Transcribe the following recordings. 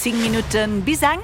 10 Minutten bis eng.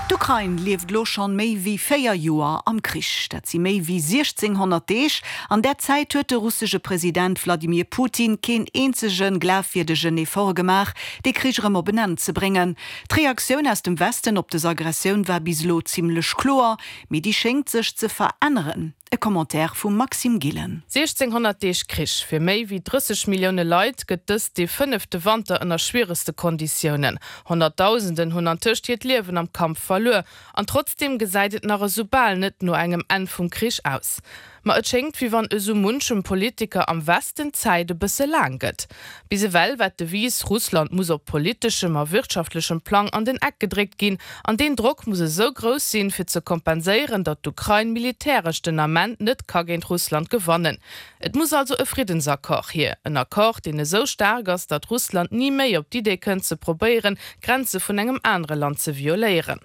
D'Ukrain lieft elo schonn méi wéi 4 Joer am Krich. Dat si méi wéi 1.600 Deeg. An där Zäit huet de russesche President Wladimir Putin keen eenzege glafwierdegen Effort gemaach, dee Krich erëm op en Enn ze bréngen. D'Reaktioun aus dem Westen op dës Aggressioun war bis elo zimmlech kloer, mee déi schéngt sech ze veränneren. E Commentaire vum Maxime Gillen. 1600 Deeg Krich, fir méi wéi 30 Millioune Leit gëtt dëst dee fënnefte Wanter ënner schwieregste Konditiounen. Honnertdausenden hunn antëscht hiert Liewen am Kampf verluer. An trotzdeem gesäit et nach esou bal net no engem Enn vum Krich aus. Ma et schéngt, wéi wann esou munchem Politiker am Westen d'Zäit e bësse laang gëtt. Bis ewell war d'Devise, Russland muss op politeschem a wirtschaftlechem Plang an den Eck gedréckt ginn. An deen Drock muss esou grouss sinn, fir ze kompenséieren, datt d'Ukrain militäresch den Ament net ka géint Russland gewannen. Et muss also e Friddensaccord hier. En Accord, deen esou staark ass, datt Russland ni méi op d'Idee kënnt ze probéieren, d'Grenze vun engem anere Land ze violéieren.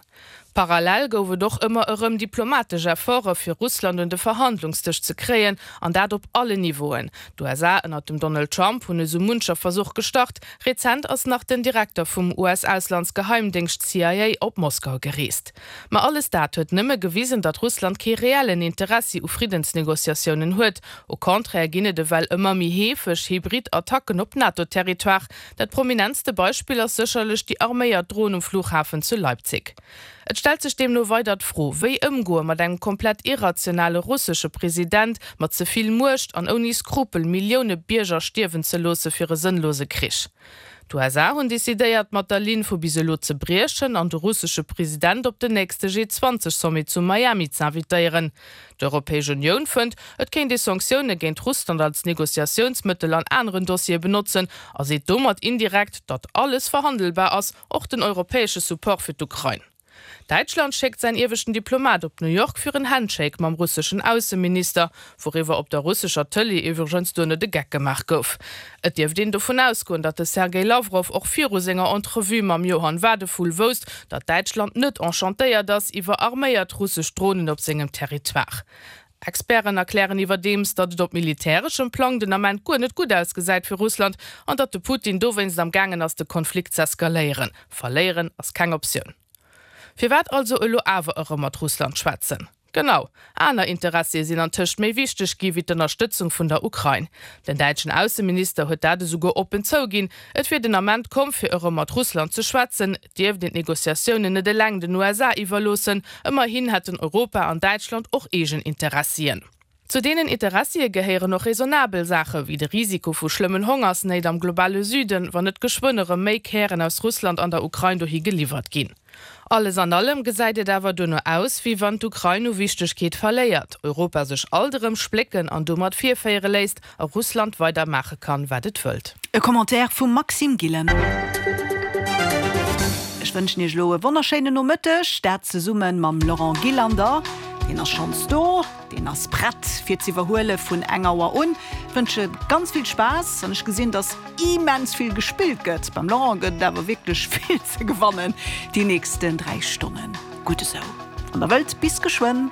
Parallel gouf et och ëmmer erëm diplomatesch Efforte fir Russland un de Verhandlungsdësch ze kréien, an dat op allen Niveauen. D'USA ënnert dem Donald Trump hunn esou muncher Versuch gestart. Rezent ass nach den Direkter vum US-Auslandsgeheimdéngscht CIA op Moskau gereest. Ma alles dat huet nëmme gewisen, datt Russland kee reellen Interessi u Friddensnegociatiounen huet. Au contraire ginn et ewell ëmmer méi heefeg hybrid Attacken op NATO-Territoire, Dat prominentste Beispill ass sécherlech déi arméiert Dron um Flughafen zu Leipzig. Et stellt sech deemno weider d'Fro, wéi ëmgoe mat engem komplett irrationale russesche President mat ze vill Muecht an ouni Skrupel Millioune Bierger stierwen ze loosse fir e sënnlose Krich. D'USA hunn decidéiert, mat der Linn vu bis elo ze briechen an de russesche President op den nächste G20 Sommet zu Miami z'invitéieren. D'Europäesch Unioun fënnt, et kéint ee Sanktioune géint Russland als Negociatiounsmëttel an aneren Dossiere benotzen a seet domat indirekt, datt alles verhandelbar ass, och den europäesche Support fir d'Ukrain. Däitschland schéckt säin ieweschten Diplomat op New York fir en Handshake mam russeschen Ausseminister, wouriwwer op der russescher Tëlee iwwregens duerno de Geck gemaach gouf. Et dierft een dovun ausgoen, datt de Sergej Lawrow och viru senger Entrevue mam Johann Wadephul wousst, datt Däitschland net enchantéiert ass iwwer arméiert russesch Dronen op sengem Territoire. Experten erklären iwwerdeems, datt et op militäreschem Plang den Ament guer net gutt ausgesäit fir Russland an datt de Putin dowéinst am gaangen ass de Konflikt z'eskaléieren. Verléieren ass keng Optioun. Firwat also elo awer erëm mat Russland schwätzen? Genau, aner Interessie sinn antëscht méi wichteg gi wéi d'Ënnerstëtzung vun der Ukrain. Den däitschen Ausseminister huet dat esouguer oppen zouginn, et wier den Ament komm fir erëm mat Russland ze schwätzen, et dierft een d'Negociatiounen net eleng den USA iwwerloossen, ëmmerhin hätten Europa an Däitschland och eegen Interessien. Zu deenen Interessie gehéieren och raisonnabel Saache wéi de Risiko vu schlëmmen Hongersnéit am globale Süden, wann net geschwënn erëm méi Kären aus Russland an der Ukrain dohi geliwwert ginn. Alles an allem gesäit et awer duerno aus, wéi wann d'Ukrain u Wichtegkeet verléiert, Europa sech alt erëm splécken an domat virféiere léisst a Russland weider maache kann, wat et wëllt. E Commentaire vum Maxime Gillen. Ech wënschen Iech elo e wonnerschéinen Nomëtteg, dat zesumme mam Laurent Gillander. Deen ass schonns do. Deen ass prett fir z'iwwerhuele vun eng Auer un. Wënsche ganz vill Spaass an ech gesinn, dass immens vill gespillt gëtt. Beim Laurent gëtt et awer wierklech vill ze gewannen déi nächsten 3 Stonnen. Gutt esou. Wann der wëllt, bis geschwënn.